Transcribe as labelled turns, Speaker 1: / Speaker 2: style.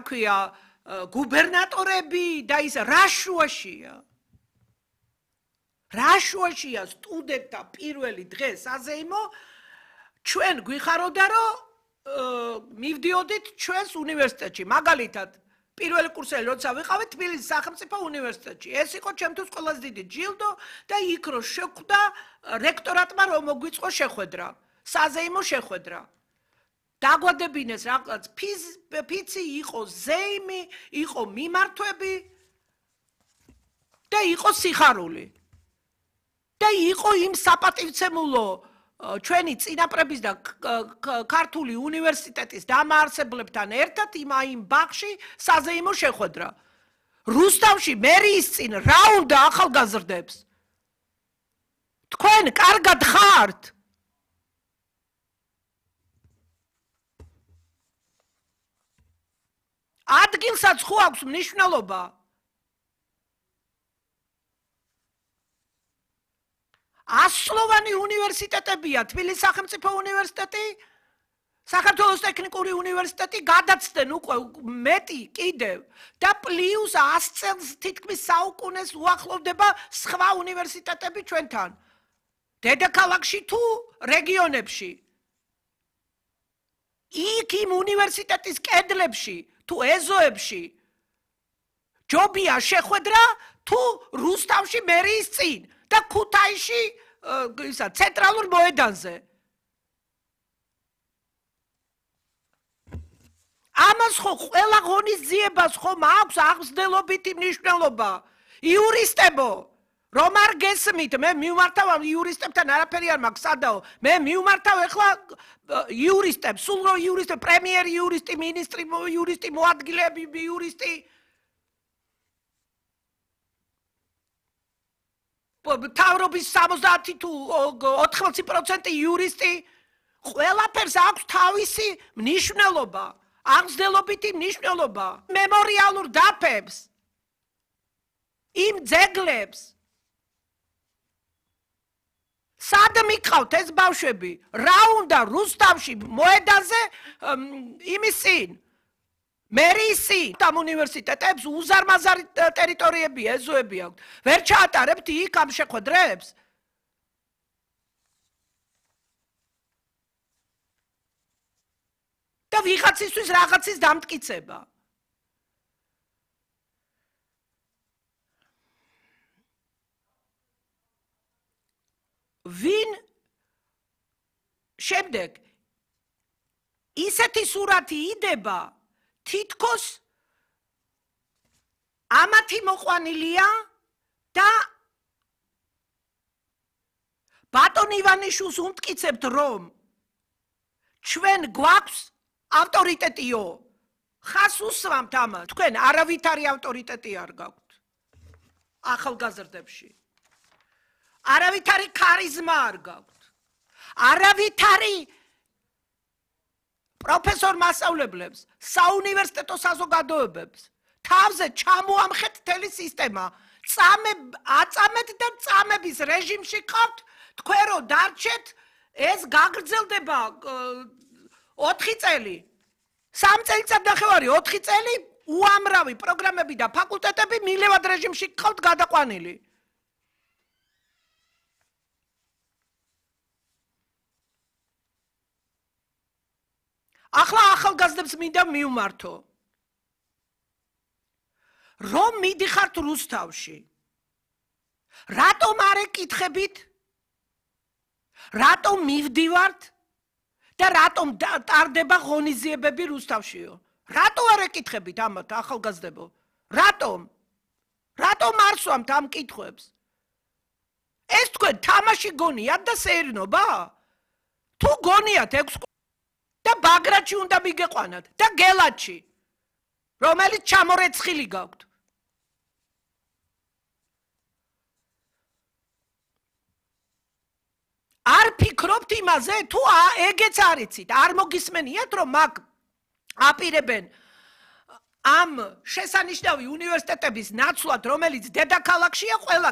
Speaker 1: ქვია, გუბერნატორები და ის რა შუაშია? რა შუაშია სტუდენტთა პირველი დღე საზეიმო ჩვენ გვიხაროდა რომ მივდიოდით ჩვენს უნივერსიტეტში მაგალითად პირველი კურსელი როცა ვიყავით თბილისის სახელმწიფო უნივერსიტეტში ეს იყო ჩემთვის ყველაზე დიდი ჯილდო და იქ რო შეხვდა რექტორატმა რომ მოგვიწყო შეხვედრა საზეიმო შეხვედრა დაგვადებინეს რაღაც ფიცი იყო ზეიმი იყო მიმართვები და იყო სიხარული და იყო იმ საპატივცემულო ჩვენი წინაპრების და ქართული უნივერსიტეტის დამაარსებლებთან ერთად იმ ბაღში საზეიმო შეხვედრა. რუსთავში მერიის წინ რა უნდა ახალგაზრდებს? თქვენ კარგად ხართ? ადგილსაც ხო აქვს მნიშვნელობა? ასლოვანი უნივერსიტეტებია, თბილისის სახელმწიფო უნივერსიტეტი, საქართველოს ტექნიკური უნივერსიტეტი გადაცდნენ უკვე მეტი კიდევ და პლუს 100 წელს თითქმის საუკუნეს უახლოვდება სხვა უნივერსიტეტები ჩვენთან. დედაქალაქში თუ რეგიონებში. იქ იმ უნივერსიტეტის კედლებში თუ ეზოებში ჯობია შეხვედრა თუ რუსთავში მერიის წინ. და ქუთაისში ცენტრალურ მოედანზე. ამას ხო ყველა ღონისძიებას ხომ აქვს აღმსდელობითი მნიშვნელობა. იურისტებო, რომ არ გესმით, მე მივმართავ იურისტებთან არაფერი არ მაქვს სადაო. მე მივმართავ ეხლა იურისტებს, სულ რო იურისტები, პრემიერი იურისტი, მინისტრი იურისტი, მოადგილეები იურისტი თავრობის 70 თუ 80% იურისტი ყველაფერს აქვს თავისი მნიშვნელობა, აღმსდელობითი მნიშვნელობა. მემორიალურ დაფებს, იმ ძეგლებს სად მიყავთ ეს ბავშვები? რა უნდა რუსთავში მოედანზე იმის წინ? მერიის წინ ამ უნივერსიტეტებს უზარმაზარი ტერიტორიები ეზოები აქვთ. ვერ ჩაატარებთ იქ ამ შეხვედრებს? და ვიღაცისთვის რაღაცის დამტკიცება. ვინ შემდეგ ისეთი სურათი იდება თითქოს ამათი მოყვანილია და ბატონ ივანიშვილს უმტკიცებთ რომ ჩვენ გვაქვს ავტორიტეტიო ხას უსვამთ ამას თქვენ არავითარი ავტორიტეტი არ გაქვთ ახალგაზრდებში არავითარი ქარიზმა არ გაქვთ არავითარი პროფესორ მასწავლებლებს, საუნივერსიტეტო საზოგადოებებს, თავზე ჩამოამხეთ მთელი სისტემა, აწამეთ და წამების რეჟიმში ყავთ, თქვენ რო დარჩეთ, ეს გაგრძელდება 4 წელი, 3 წელიწადნახევარი, 4 წელი, უამრავი პროგრამები და ფაკულტეტები მილევად რეჟიმში ყავთ გადაყვანილი. ახლა ახალგაზრდებს მინდა მივმართო. რომ მიდიხართ რუსთავში. რატომ არ ეკითხებით? რატომ მივდივართ? და რატომ ტარდება ღონისძიებები რუსთავშიო? რატო არ ეკითხებით ამათ ახალგაზრდებო? რატომ? რატომ არ სვამთ ამ კითხვებს? ეს თქვენ თამაში გონიათ და სეირნობა? თუ გონიათ 6 და ბაგრატში უნდა მიგეყვანათ და გელათში რომელიც ჩამორეცხილი გაქვთ არ ფიქრობთ იმაზე თუ ეგეც არიცით არ მოგისმენიათ რომ მაგ აპირებენ ამ შესანიშნავი უნივერსიტეტების ნაცვლად რომელიც დედაქალაქშია ყველა